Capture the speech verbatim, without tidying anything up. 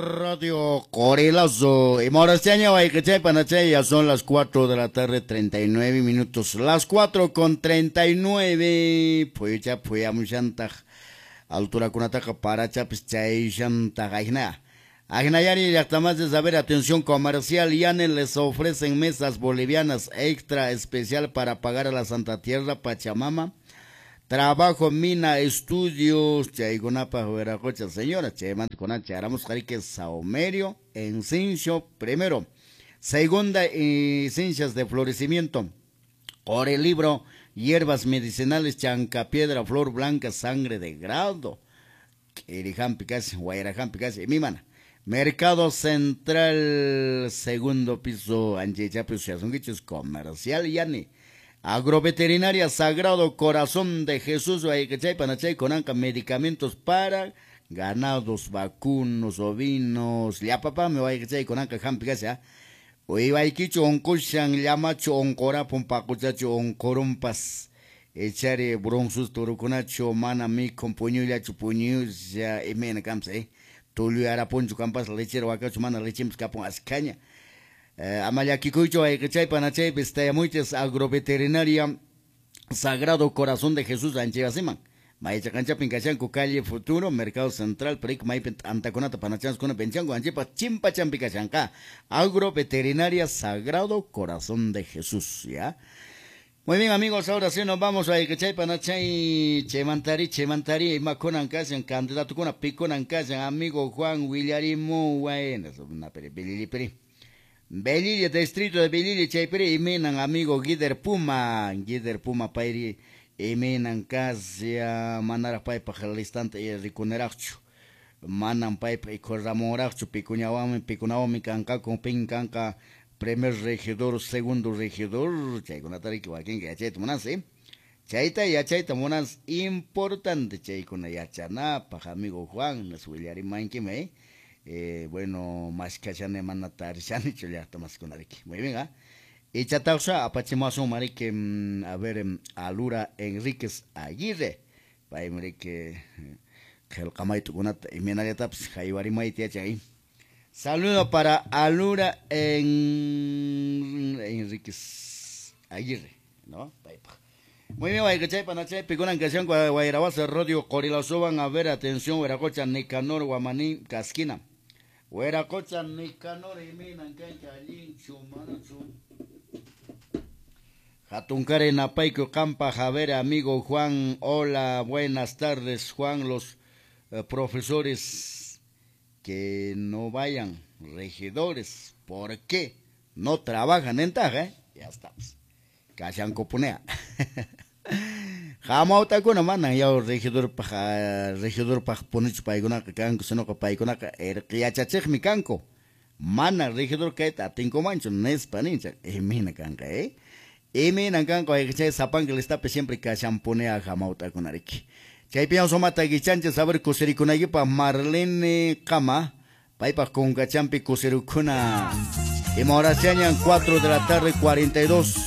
Radio Corelazo. Y ya son las cuatro de la tarde, treinta y nueve minutos. Las cuatro con treinta y nueve. Pues ya, altura kunataqa parachapis chayshantaq ajna. Ajnayari llaqtamasis, a ver, atención comercial, Yane les ofrecen mesas bolivianas extra especial para pagar a la Santa Tierra Pachamama. Trabajo, mina, estudios, chaykunapaq wiraqucha, señora, chaymanta kunan charamos qarique saumerio, encincio primero. Segunda, esencias de florecimiento. Por el libro, hierbas medicinales, chancapiedra, flor blanca, sangre de grado. Irihampi casi, guairahampi casi, mi mana. Mercado Central, segundo piso, Anchichapi, Siasunguichos, comercial, Yani. Agroveterinaria Sagrado Corazón de Jesús, Guayquechay, Panachay, Conanca, medicamentos para ganados, vacunos, ovinos, llapapá, me Guayquechay, Conanca, hampi casi, ¿ah? Uywaykichu onqushan, llamachu onqurapun, paquchachu onqurunpas, echari bronzus turukunachu, mana mikhun, puñullachu puñulla, imayna kampas, eh? Tulluyarapunchu kampas, lechero wakachu, mana lechimpas kapun askaña. Eh, ama llakikuychu ayqichay panachaypis tayamuychis agroveterinaria Sagrado Corazón de Jesús anchayasiman. Maychaqanchapin kashanku calle Futuro, Mercado Central, Perico, maypin t'antakunata panachanskuna penchanku, anchipa chimpachampi kashanqa. Agroveterinaria Sagrado Corazón de Jesús, ¿ya? Muy bien, amigos, ahora sí nos vamos a Ayquichay, Panachay, Chemantari, Chemantari, imakunan kashan, candidatukuna, pikunan kashan, amigo Juan Willarimu, bueno, una peri, belili peri. Belille, distrito de Belille, chaypiri, imenan amigo Guider Puma, Guider Puma payri, imenan kasya, manaraq paypaq listanta rikuneraqchu, manan paypaq ikhurramuraqchu, pikuñawanmi, pikunawanmi kanqaku, pin kanqa, primer regidor, segundo regidor, chaykunata riki wakinqa yachayta munansi, eh? Chayta yachayta munansi, importante chaykuna yachanapaq, amigo Juan, nas willarimankimi, eh? Eh, bueno, mashkashani mana tarishanichu llaqta maskunariki. Muy bien, ¿ah? Ichataqsha apachimasun mariki, a ver, Alura Enríquez Aguirre. Paymi riki qillqamaytukunata imaynallatapis haywarimayta yachan. Saludo para Alura en... Enríquez Aguirre, ¿no? Paypaq. Muy bien, wayqichay panachay pikunan kashanku Wayrawasa Radio Qorilasowan, a ver, atención, Huiracocha, Nicanor, Guamaní, Casquina. Huiracocha, Nicanor, iminan kancha, allinchu, manachu. Jatunkare Napayku Campa, Javier, amigo Juan, hola, buenas tardes, Juan, los eh, profesores que no vayan, regidores, ¿por qué no trabajan en Taja, eh? Ya estamos. Kashankupunea. Hamawtakuna manan yaw regidorpaq regidorpaq punichu paykunaqa kanku, sinoqa paykunaqa irqiyachachiqmi kanku. Mana regidor kayta atinkumanchu nispa ninchaq. Imayna kanqa, eh? Imayna kanqa wayqichay sapanka listapi siempre kashanpunea hamawtakuna riki. Chaypiwan sumata kichanchis a ver kusirikunaykipaq Marlene Kama, paypaq kunkachampi kusirikuna. Ima horas chañan cuatro de la tarde cuarenta y dos.